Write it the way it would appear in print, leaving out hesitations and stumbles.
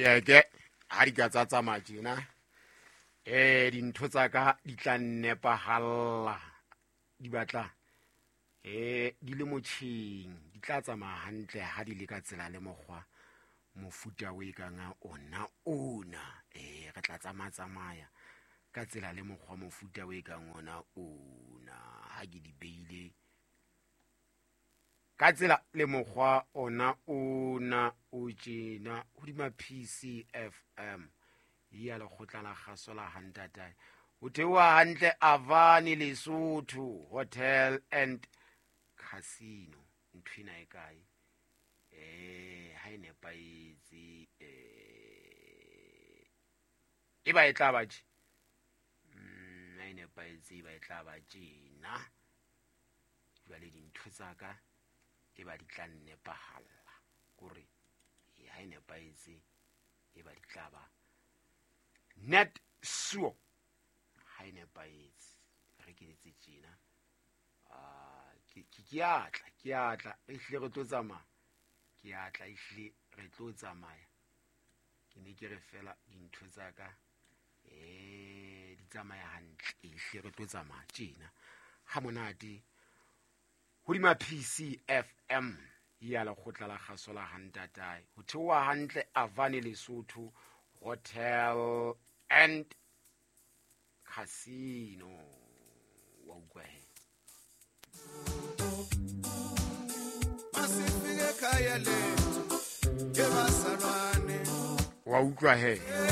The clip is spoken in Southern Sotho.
Yeke ha di ka tsa tsamaya tjena, dintho tsa ka di tla nnepahalla, di batla di le motjheng, di tla tsamaya hantle ha di le ka tsela le mokgwa mofuta o e kang a ona ona. Re tla tsamaya tsamaya ka tsela le mokgwa mofuta o e kang ona ona, ha ke di beile ka tsela le mokgwa ona ona o tjena hodima PCFM ya lekgotla la kgaso la hantatae. Ho theoha hantle Avani Lesotho Hotel and Casino. Ntho ena e kae? Ha e nepahetse, e ba e tla ba tje. Ha e nepahetse e ba e tla ba tjena. Jwale dintho tsa ka e ba di tla nnepahalla, kore ha e nepahetse e ba di tla ba net suo. Ha e nepahetse re ke letse tjena. Ke atla, ke atla, ehlile re tlo tsamaya. Ke atla, ehlile re tlo tsamaya. Ke ne ke re fela dintho tsa ka di tsamaya hantle, ehlile re tlo tsamaya tjena ha monate hodima PCFM ya lekgotla la kgaso la hantatae. Ho theoha hantle Avani Lesotho Hotel and Casino. Wa utlwa he. Masifike ekhaya lethu, ebazalwane. Wa utlwa he.